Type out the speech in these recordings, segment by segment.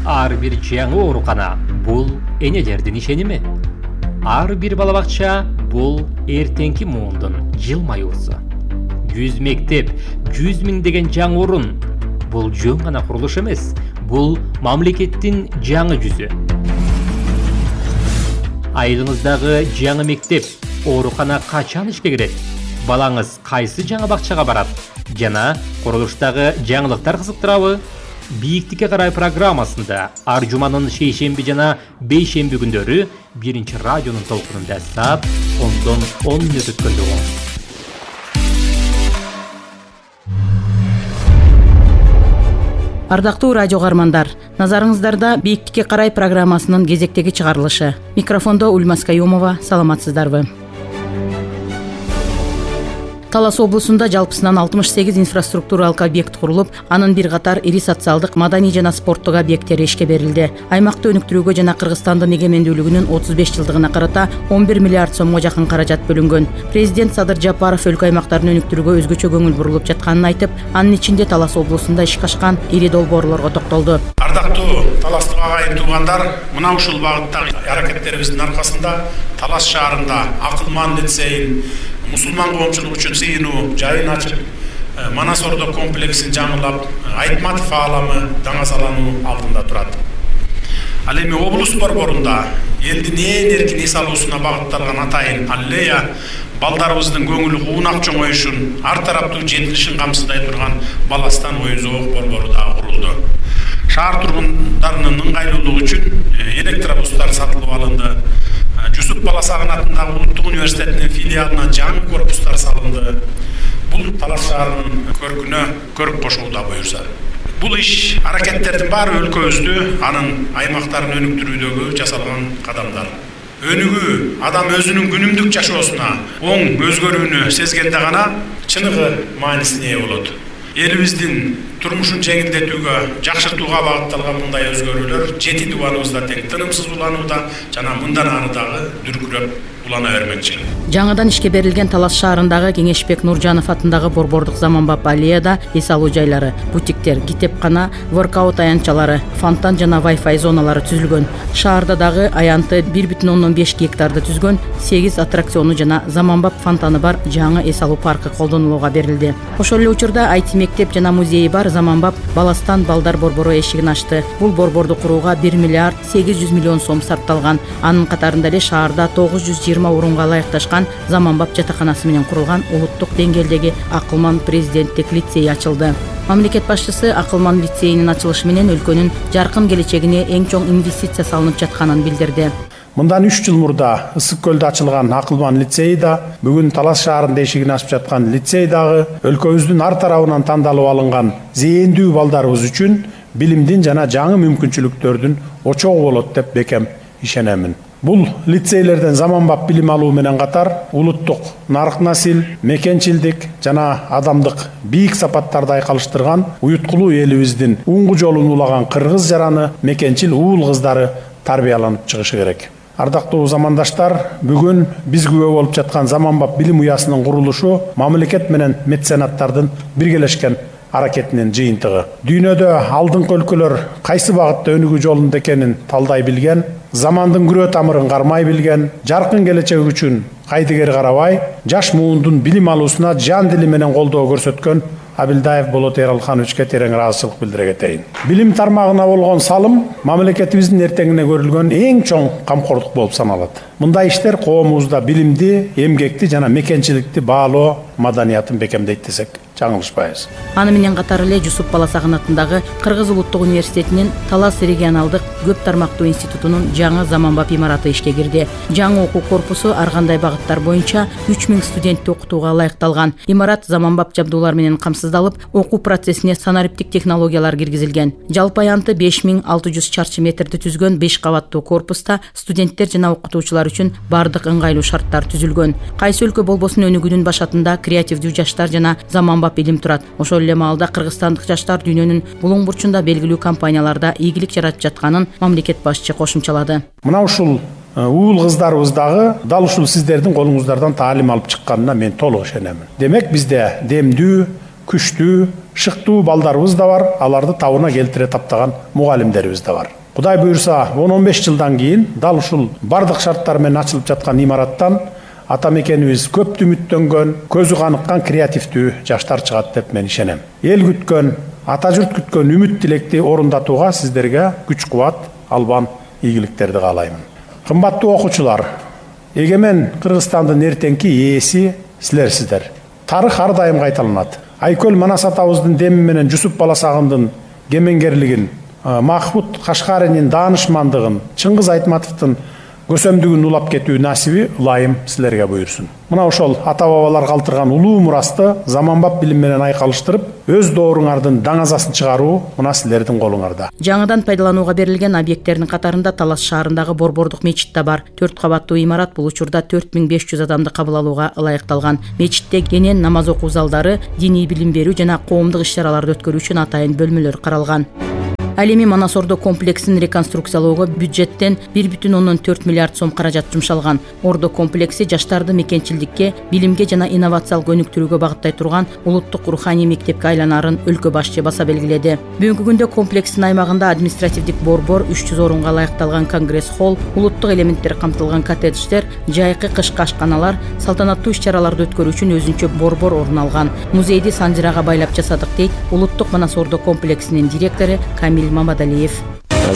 Ар бир жаңы оорукана бул энелердин ишеними. Ар бир бала бакча бул эртеңки муундун жылмаюусу. 100 мектеп, 100 миң деген жаңы орун. Бул жөн гана курулуш эмес, бул мамлекеттин жаңы жүзү. Айылыңыздагы жаңы мектеп, оорукана качан ишке кирет? Балаңыз кайсы жаңы бакчага барат? Жана курулуштагы жаңылыктар кызыктырабы? Бийиктикке карай программасында ар жуманын шейшемби жана бейшемби күндөрү 1 радионун толкунунда саат 10 мүнөт өткөндө угуңуз. Ардактуу радио каармандар, назарыңыздарда Бийиктикке карай программасынын кезектеги чыгарылышы. Микрофондо Ульмас Каюмова, саламатсыздарбы? Талас облусунда жалпысынан 68 инфраструктуралык объект курулуп, анын бир катар ири социалдык, маданий жана спорттук объекттери ишке берилди. Аймакты өнүктүрүүгө жана Кыргызстандын эгемендүүлүгүнүн 35 жылдыгына карата 11 миллиард сомго жакын каражат бөлүнгөн. Президент Садыр Жапаров өлкө аймактарын өнүктүрүүгө өзгөчө көңүл бурулуп жатканын айтып, анын ичинде Талас облусунда ишке ашкан ири долбоорлорго токтолду. Ардактуу таластык агайын туугандар, мына ушул багыттагы аракеттерибиздин аркасында Талас шаарында Акылман лицейин, мусулман коомчулук үчүн сыйынуу жайын ачып, Манас Ордо комплексин жаңылап, Айтматов ааламы даңазалануу алдында турат. Ал эми облус борборунда элдин эң эркин эс алуусуна багытталган атайын аллея балдарыбыздын көңүлү куунак чоңоюшун, ар тараптуу жетилишин камсыздай турган Баластан оюн-зоок борбору да курулду. Шаар тургундарынын ыңгайлуулугу үчүн электробустар сатылып алынды. Жусуп Баласагын атындагы Улуттук университетинин филиалына жаңы корпустар салынды. Бул Талас шаарынын көркүнө көрк кошууда буюрса. Бул иш аракеттердин баары өлкөбүздү, анын аймактарын өнүктүрүүдөгү жасалган кадамдар. Өнүгүү адам өзүнүн күнүмдүк жашоосуна оң өзгөрүүнү сезгенде гана чыныгы маанисине ээ болот. Элибиздин турмушун жеңилдетүүгө, жакшыртууга багытталган мындай өзгөрүүлөр жети дубаныбызда тең тынымсыз уланууда жана мындан ары дагы дүркүрөп улана бермекчи. Жаңыдан ишке берилген Талас шаарындагы Кеңешбек Нуржанов атындагы борбордук заманбап аллеяда эс алуу жайлары, бутиктер, китепкана, воркаут аянтчалары, фонтан жана Wi-Fi зоналары түзүлгөн. Шаарда дагы аянты 1,5 гектарды түзгөн 8 аттракциону жана заманбап фонтаны бар жаңы эс алуу паркы колдонулууга берилди. Ошол эле учурда IT мектеп жана музейи бар заманбап Баластан балдар борбору эшигин ачты. Бул борборду курууга 1 миллиард 800 миллион сом сарпталган. Анын катарында эле шаарда 920 орунга ылайыкташкан заманбап жатаканасы менен курулган улуттук деңгээлдеги Акылман президенттик лицей ачылды. Мамлекет башчысы Акылман лицейинин ачылышы менен өлкөнүн жаркын келечегине эң чоң инвестиция салынып жатканын билдирди. Мындан 3 жыл мурда Ысык көлдө ачылган Акылман лицейи да, бүгүн Талас шаарында эшигин ачып жаткан лицей дагы өлкөбүздүн ар тарабынан тандалып алынган зээндүү балдарыбыз үчүн билимдин жана жаңы мүмкүнчүлүктөрдүн очогу болот деп бекем ишенемин. Бул лицейлерден заманбап билим алуу менен катар улуттук нарык насил, мекенчилдик жана адамдык бийик сапаттарды айкалыштырган уюткулуу элибиздин уңгу жолун улаган кыргыз жараны, мекенчил уул кыздары тарбияланып чыгышы керек. Ардактуу замандаштар, бүгүн биз күбө болуп жаткан заманбап билим уясынын курулушу мамлекет менен меценаттардын биргелешкен аракетинин жыйынтыгы. Дүйнөдө алдыңкы өлкөлөр кайсы багытта өнүгүү жолунда экенин талдай билген, замандын күрөө тамырын кармай билген, жаркын келечек үчүн кайдыгер карабай, жаш муундун билим алуусуна жан дили менен колдоо көрсөткөн Абилдаев Болот Эралхановичке терең ыраазычылык билдире кетейин. Билим тармагына болгон салым мамлекетибиздин эртеңине көрүлгөн эң чоң камкордук болуп саналат. Мындай иштер коомубузда билимди, эмгекти жана мекенчиликти баалоо маданиятын бекемдейт десек жаңылышпайбыз. Аны менен катар эле Жусуп Баласагын атындагы Кыргыз улуттук университетинин Талас регионалдык көп тармактуу институтунун жаңы заманбап имараты ишке кирди. Жаңы окуу корпусу ар кандай багыттар боюнча 3000 студентти окутууга ылайыкталган. Имарат заманбап жабдуулар менен камсыздалып, окуу процессине санариптик технологиялар киргизилген. Жалпы аянты 5600 чарчы метрди түзгөн 5 кабаттуу корпуста студенттер жана окутуучулар үчүн бардык ыңгайлуу шарттар түзүлгөн. Кайсы өлкө болбосун өнүгүүнүн башатында креативдүү жаштар жана заманбап илим турат. Ошол эле маалда кыргызстандык жаштар дүйнөнүн булуң бурчунда белгилүү компанияларда ийгилик жаратып жатканын мамлекет башчы кошумчалады. Мына ушул уул кыздарыбыз дагы дал ушул сиздердин колуңуздардан таалим алып чыкканына мен толук ишенемин. Демек бизде демдүү, күчтүү, шыктуу балдарыбыз да бар, аларды табына келтире таптаган мугалимдерибиз да бар. Кудай буюрса, 10-15 жылдан кийин дал ушул бардык шарттар менен ачылып жаткан имараттан ата мекенибиз көптү үмүттөнгөн, көзү каныккан креативдүү жаштар чыгат деп мен ишенем. Эл күткөн, ата журт күткөн үмүт тилекти орундатууга сиздерге күч-кубат, албан ийгиликтерди каалаймын. Кымбаттуу окуучулар, эгемен Кыргызстандын эртеңки ээси силерсиздер. Тарых ар дайым кайталанат. Айкөл Манас атабыздын деми менен Жусуп Баласагындын кемеңгерлигин, Махмуд Кашкаринин даанышмандыгын, Чыңгыз Айтматовдун көсөмдүгүн улап кетүү насиби ылайым силерге буйрсун. Мына ошол ата-бабалар калтырган улуу мурасты заманбап билим менен айкалыштырып, өз дооруңардын даңазасын чыгаруу мына силердин колуңарда. Жаңыдан пайдаланууга берилген объекттердин катарында Талас шаарындагы Борбордук мечит да бар. 4 кабаттуу имарат бул учурда 4500 адамды кабыл алууга ылайыкталган. Мечитте кенен намаз окуу залдары, диний билим берүү жана коомдук иш-чараларды өткөрүү үчүн атайын бөлмөлөр каралган. Ал эми Манас Ордо комплексин реконструкциялоого бюджеттен 1,4 миллиард сом каражат жумшалган. Ордо комплекси жаштарды мекенчилдикке, билимге жана инновациялык өнүктүрүүгө багыттай турган улуттук руханий мектепке айланарын өлкө башчы баса белгиледи. Бүгүнкү күндө комплекстин аймагында административдик борбор, 300 орунга ылайыкталган конгресс холл, улуттук элементтер камтылган коттедждер, жайкы кышкы ашканалар, салтанаттуу иш-чараларды өткөрүү үчүн өзүнчө борбор орун алган. Музейди санжырага байлап жасадык дейт улуттук Манас Ордо комплексинин директору Камил Мамадалиев.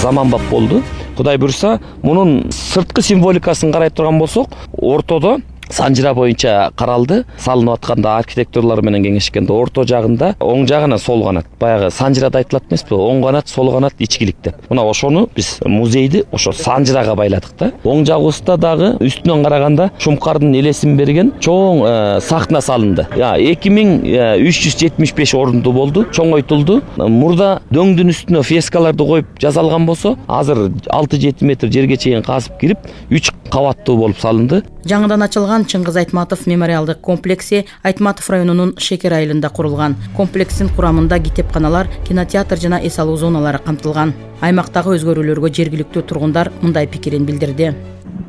Заманбап болду. Кудай буйрса, мунун сырткы символикасын карай турган болсок, ортодо санжыра боюнча каралды. Салынып атканда архитекторлор менен кеңешкенде орто жагында оң жагына сол канат. Баягы санжырада айтылат эмеспи? Оң канат, сол канат ичкилик деп. Мына ошону биз музейди ошо санжырага байладык да. Оң жагыбызда дагы үстүнөн караганда Шумкардын элесин берген чоң сахна салынды. 2375 орунду болду, чоңойтулду. Мурда дөңдүн үстүнө фрескаларды коюп жасалган болсо, азыр 6-7 метр жерге чейин казып кирип, 3 кабаттуу болуп салынды. Жаңыдан ачылган Чыңгыз Айтматов мемориалдык комплекси Айтматов районунун Шекер айылында курулган. Комплекстин курамында китепканалар, кинотеатр жана эс алуу зоналары камтылган. Аймактагы өзгөрүүлөргө жергиликтүү тургундар мындай пикирин билдирди.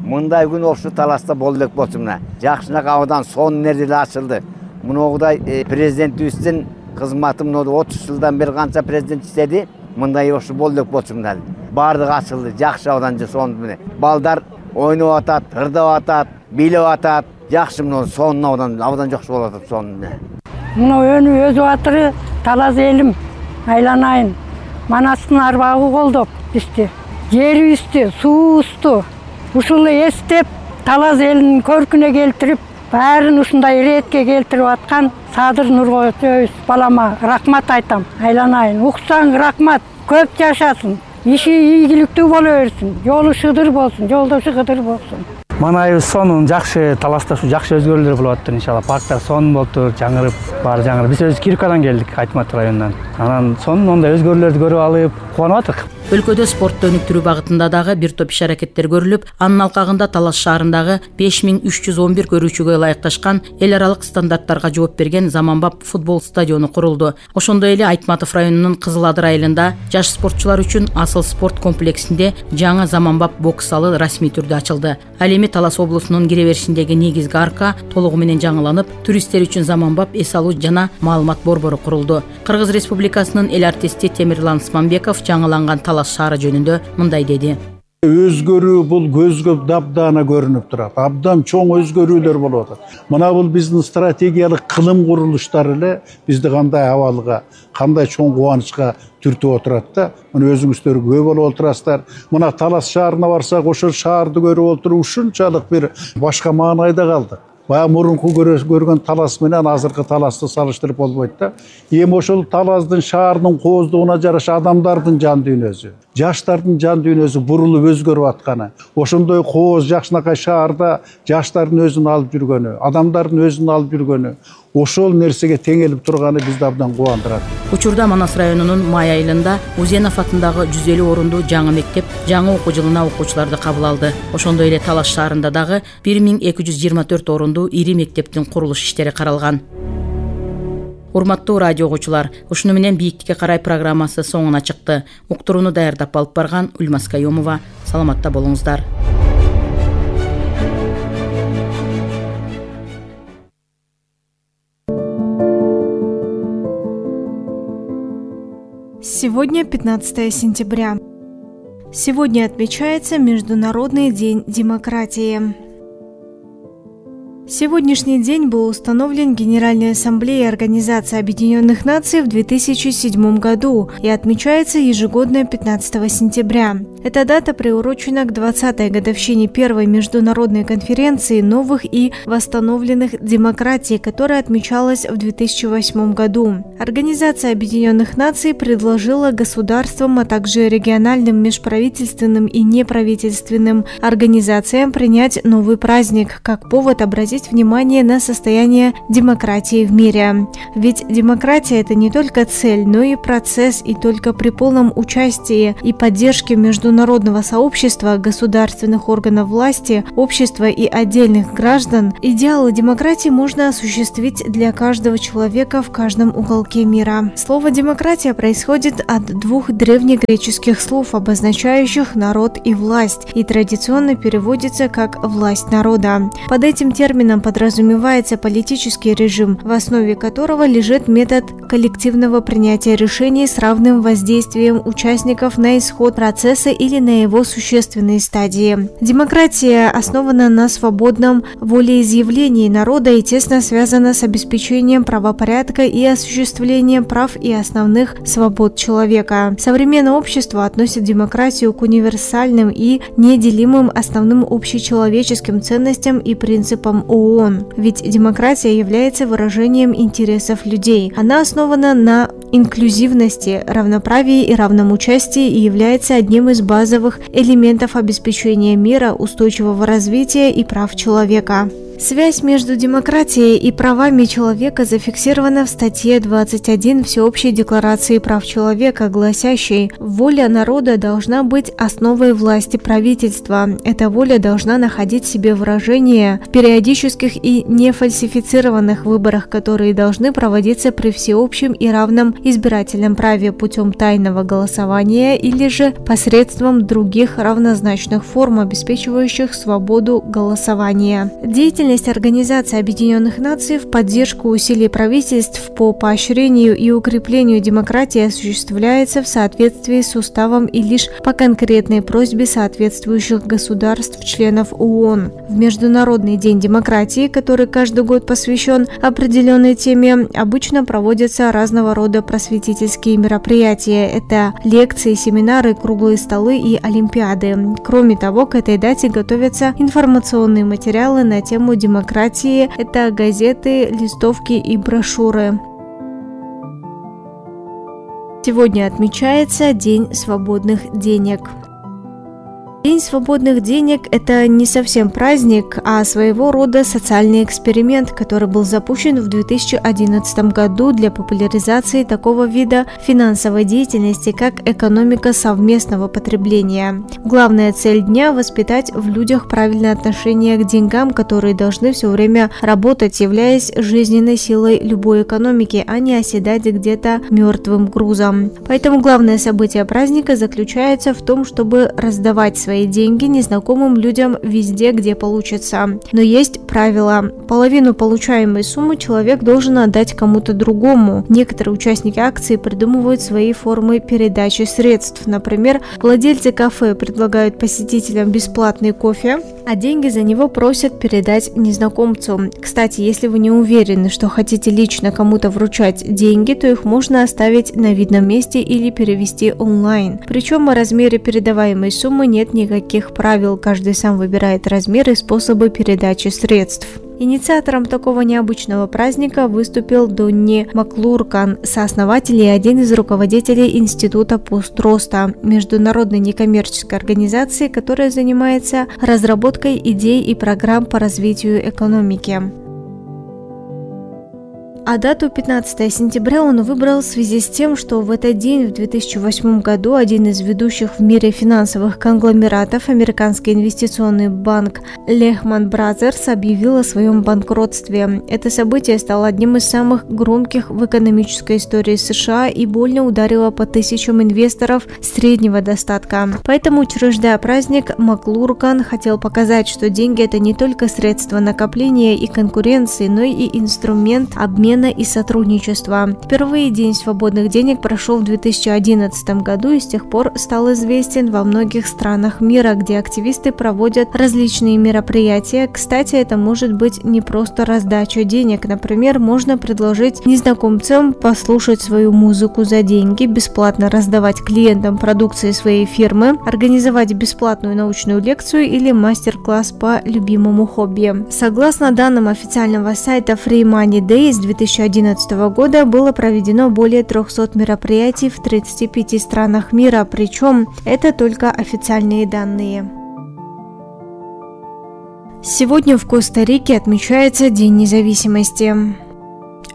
Мындай күн ошо Таласта болду элек болчу мына. Жакшынак абдан сонун нерселер ачылды. Мындай президентибиздин кызматы 30 жылдан бери канча президент иштеди. Мындай ошо болду элек болчу мына. Бардыгы ачылды, жакшы абдан сонун менен. Балдар ойноп атат, ырдап атат, бийлеп атат. Жакшы мына сонун абдан жакшы болуп атат сонун. Мына өнү өз батыры Талас элим айланайын. Манастын арбагы колдоп бизди. Жерибизди, суубузду ушул эстеп Талас элинин көркүнө келтирип, баарын ушундай иретке келтирип аткан Садыр Нургожоевич балама рахмат айтам. Айланайын. Уксаң рахмат. Көп жашасын. Иши ийгиликтүү боло берсин. Жолу шыдыр болсун, жолдошу кыдыр болсун. Манайыбыз сонун, жакшы, Таласта ушу жакшы өзгөрүүлөр болуп атты иншалла. Парктар сонун болуптур, жаңырып, баары жаңырып. Биз өзү Киркадан келдик, Айтматов районунан. Анан сонун ондай өзгөрүүлөрдү көрүп алып, кубанып атык. Өлкөдө спортту өнүктүрүү багытында дагы бир топ иш-аракеттер көрүлүп, анын алкагында Талас шаарындагы 5311 көрүүчүгө ылайыкташкан эл аралык стандарттарга жооп берген заманбап футбол стадиону курулду. Ошондой эле Айтматов районунун Кызыл Адыр айылында жаш спортчулар үчүн Асыл спорт комплексинде жаңы заманбап бокс залы расмий түрдө ачылды. Ал эми Талас облусунун кире беришиндеги негизги арка толугу менен жаңыланып, туристтер үчүн заманбап эс алуу жана маалымат борбору курулду. Кыргыз Республикасынын эл артисти Темирлан Смамбеков жаңыланган Талас шаары жөнүндө мындай деди. Өзгөрүү бул көзгө дабдана көрүнүп турат. Абдан чоң өзгөрүүлөр болуп атат. Мына бул биздин стратегиялык кылым курулуштары эле бизди кандай абалга, кандай чоң кубанычка түртүп отурат да. Мына өзүңүздөр күбө болуп отурасыздар. Мына Талас шаарына барсак, ошол шаарды көрүп отуруп ушунчалык бир башка маанайда калдык. Баягы мурунку көргөн Талас менен азыркы Таласты салыштырып болбойт да. Эми ошол Таластын шаарынын кооздугуна жараша адамдардын жан дүйнөсү, жаштардын жан дүйнөсү бурулуп өзгөрүп атканы, ошондой кооз жакшынакай шаарда жаштардын өзүн алып жүргөнү, адамдардын өзүн алып жүргөнү, ошол нерсеге теңелип турганы бизди абдан кубандырат. Учурда Манас районунун Май айылында Узенов атындагы 150 орундуу жаңы мектеп жаңы окуу жылына окуучуларды кабыл алды. Ошондой эле Талас шаарында дагы 1224 орундуу ири мектептин курулуш иштери каралган. Урматтуу радио угуучулар, ушуну менен бийиктикке карай программасы соңуна чыкты. Уктурууну даярдап алып барган Ульмас Кайомова. Саламатта болуңуздар. Сегодня 15 сентября. Сегодня отмечается Международный день демократии. Сегодняшний день был установлен Генеральной Ассамблеей Организации Объединенных Наций в 2007 году и отмечается ежегодно 15 сентября. Эта дата приурочена к 20-й годовщине первой международной конференции новых и восстановленных демократий, которая отмечалась в 2008 году. Организация Объединенных Наций предложила государствам, а также региональным, межправительственным и неправительственным организациям принять новый праздник как повод обратить внимание на состояние демократии в мире. Ведь демократия – это не только цель, но и процесс, и только при полном участии и поддержке международного сообщества, государственных органов власти, общества и отдельных граждан идеалы демократии можно осуществить для каждого человека в каждом уголке мира. Слово «демократия» происходит от двух древнегреческих слов, обозначающих народ и власть, и традиционно переводится как «власть народа». Под этим термином подразумевается политический режим, в основе которого лежит метод коллективного принятия решений с равным воздействием участников на исход процесса или на его существенные стадии. Демократия основана на свободном волеизъявлении народа и тесно связана с обеспечением правопорядка и осуществлением прав и основных свобод человека. Современное общество относит демократию к универсальным и неделимым основным общечеловеческим ценностям и принципам ООН. Ведь демократия является выражением интересов людей. Она основана на инклюзивности, равноправии и равном участии и является одним из базовых элементов обеспечения мира, устойчивого развития и прав человека. Связь между демократией и правами человека зафиксирована в статье 21 Всеобщей декларации прав человека, гласящей: «Воля народа должна быть основой власти правительства. Эта воля должна находить себе выражение в периодических и нефальсифицированных выборах, которые должны проводиться при всеобщем и равном избирательном праве путем тайного голосования или же посредством других равнозначных форм, обеспечивающих свободу голосования». Деятельность Организации Объединенных Наций в поддержку усилий правительств по поощрению и укреплению демократии осуществляется в соответствии с уставом и лишь по конкретной просьбе соответствующих государств-членов ООН. В Международный день демократии, который каждый год посвящен определенной теме, обычно проводятся разного рода просветительские мероприятия. Это лекции, семинары, круглые столы и олимпиады. Кроме того, к этой дате готовятся информационные материалы на тему демократии, это газеты, листовки и брошюры. Сегодня отмечается День свободных денег. День свободных денег – это не совсем праздник, а своего рода социальный эксперимент, который был запущен в 2011 году для популяризации такого вида финансовой деятельности, как экономика совместного потребления. Главная цель дня – воспитать в людях правильное отношение к деньгам, которые должны все время работать, являясь жизненной силой любой экономики, а не оседать где-то мертвым грузом. Поэтому главное событие праздника заключается в том, чтобы раздавать свои деньги незнакомым людям везде, где получится. Но есть правило. Половину получаемой суммы человек должен отдать кому-то другому. Некоторые участники акции придумывают свои формы передачи средств. Например, владельцы кафе предлагают посетителям бесплатный кофе, а деньги за него просят передать незнакомцу. Кстати, если вы не уверены, что хотите лично кому-то вручать деньги, то их можно оставить на видном месте или перевести онлайн. Причем о размере передаваемой суммы нет никаких правил. Каждый сам выбирает размер и способы передачи средств. Инициатором такого необычного праздника выступил Донни Маклуркан, сооснователь и один из руководителей Института Построста, международной некоммерческой организации, которая занимается разработкой идей и программ по развитию экономики. А дату 15 сентября он выбрал в связи с тем, что в этот день, в 2008 году, один из ведущих в мире финансовых конгломератов, американский инвестиционный банк Lehman Brothers, объявил о своем банкротстве. Это событие стало одним из самых громких в экономической истории США и больно ударило по тысячам инвесторов среднего достатка. Поэтому, учреждая праздник, Маклуркан хотел показать, что деньги – это не только средство накопления и конкуренции, но и инструмент обмена обмена и сотрудничества. Впервые День свободных денег прошел в 2011 году и с тех пор стал известен во многих странах мира, где активисты проводят различные мероприятия. Кстати, это может быть не просто раздача денег. Например, можно предложить незнакомцам послушать свою музыку за деньги, бесплатно раздавать клиентам продукции своей фирмы, организовать бесплатную научную лекцию или мастер-класс по любимому хобби. Согласно данным официального сайта Free Money Day, с 2011 года было проведено более 300 мероприятий в 35 странах мира, причем это только официальные данные. Сегодня в Коста-Рике отмечается День независимости.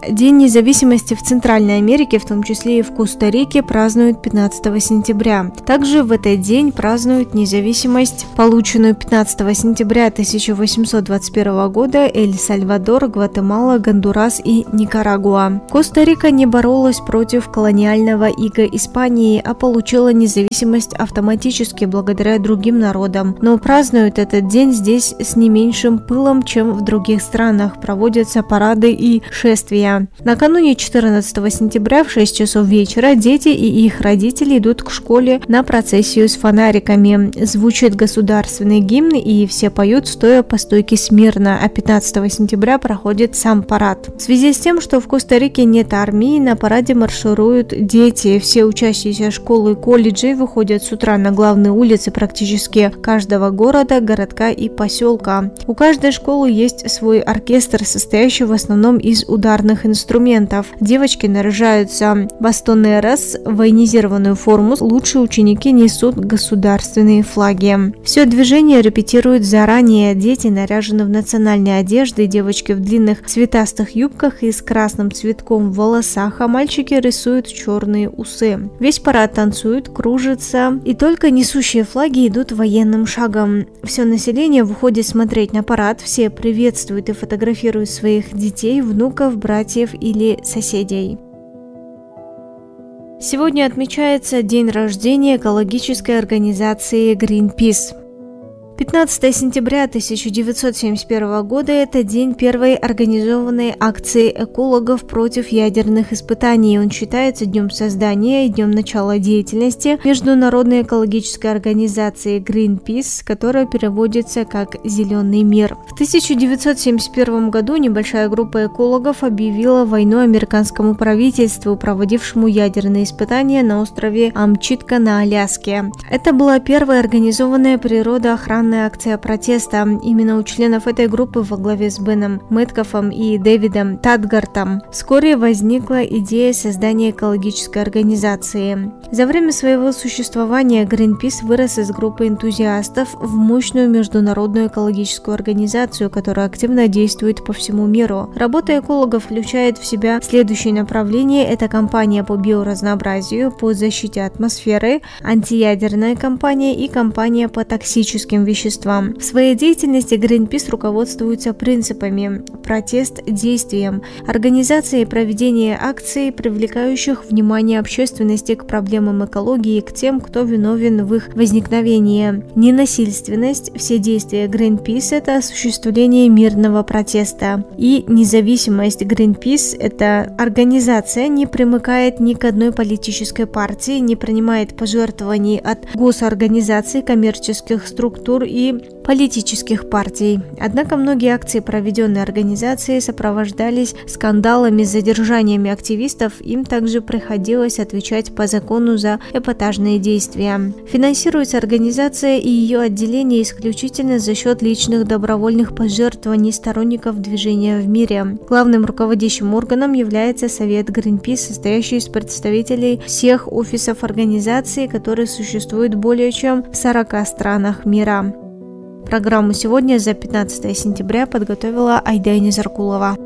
День независимости в Центральной Америке, в том числе и в Коста-Рике, празднуют 15 сентября. Также в этот день празднуют независимость, полученную 15 сентября 1821 года Эль-Сальвадор, Гватемала, Гондурас и Никарагуа. Коста-Рика не боролась против колониального ига Испании, а получила независимость автоматически благодаря другим народам. Но празднуют этот день здесь с не меньшим пылом, чем в других странах. Проводятся парады и шествия. Накануне 14 сентября в 6 часов вечера дети и их родители идут к школе на процессию с фонариками. Звучит государственный гимн и все поют, стоя по стойке смирно, а 15 сентября проходит сам парад. В связи с тем, что в Коста-Рике нет армии, на параде маршируют дети. Все учащиеся школ и колледжей выходят с утра на главные улицы практически каждого города, городка и поселка. У каждой школы есть свой оркестр, состоящий в основном из ударных инструментов. Девочки наряжаются в бастоны РС, в военизированную форму. Лучшие ученики несут государственные флаги. Все движение репетируют заранее. Дети наряжены в национальные одежды, девочки в длинных цветастых юбках и с красным цветком в волосах, а мальчики рисуют черные усы. Весь парад танцует, кружится, и только несущие флаги идут военным шагом. Все население выходит смотреть на парад, все приветствуют и фотографируют своих детей, внуков, братьев или соседей. Сегодня отмечается день рождения экологической организации Greenpeace. 15 сентября 1971 года – это день первой организованной акции экологов против ядерных испытаний. Он считается днем создания и днем начала деятельности международной экологической организации Greenpeace, которая переводится как «Зеленый мир». В 1971 году небольшая группа экологов объявила войну американскому правительству, проводившему ядерные испытания на острове Амчитка на Аляске. Это была первая организованная природоохранная акция протеста. Именно у членов этой группы во главе с Беном Мэткофом и Дэвидом Тадгартом вскоре возникла идея создания экологической организации. За время своего существования Greenpeace вырос из группы энтузиастов в мощную международную экологическую организацию, которая активно действует по всему миру. Работа экологов включает в себя следующие направления. Это кампания по биоразнообразию, по защите атмосферы, антиядерная кампания и кампания по токсическим веществам. В своей деятельности Greenpeace руководствуется принципами протест действием, организация и проведение акций, привлекающих внимание общественности к проблемам экологии и к тем, кто виновен в их возникновении. Ненасильственность. Все действия Greenpeace – это осуществление мирного протеста. И независимость. Greenpeace – это организация, не примыкает ни к одной политической партии, не принимает пожертвований от госорганизаций, коммерческих структур и политических партий. Однако многие акции, проведенные организацией, сопровождались скандалами с задержаниями активистов. Им также приходилось отвечать по закону за эпатажные действия. Финансируется организация и ее отделение исключительно за счет личных добровольных пожертвований сторонников движения в мире. Главным руководящим органом является Совет Greenpeace, состоящий из представителей всех офисов организации, которые существуют более чем в 40 странах мира. Программу сегодня за 15 сентября подготовила Айда Незаркулова.